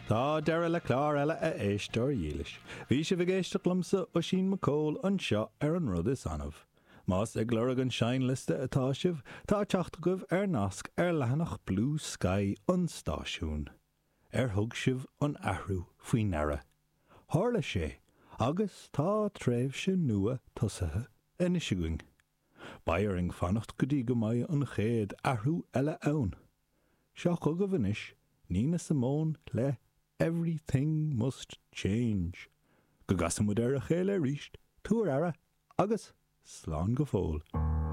Tá deireadh le clár eile a éisteoir dhílis. Bhí sibh ag éisteacht liomsa, Oisín Mac Cóil, anseo ar An Rud Is Annamh. Más ag lorg an seinnliosta atá sibh, tá teacht agaibh ar nasc ar leathanach Bluesky an stáisiúin. Ar thug sibh an athrú faoi ndeara? Tharla sé, agus tá tréimhse nua tosaithe anois againn. Beidh orainn fanacht go dtí go mbeidh an chéad athrú eile ann. Seo chugaibh anois Nina Simone le Everything Must Change. Go gcasa muid ar a chéile arís, tabhair aire agus slán go fóill.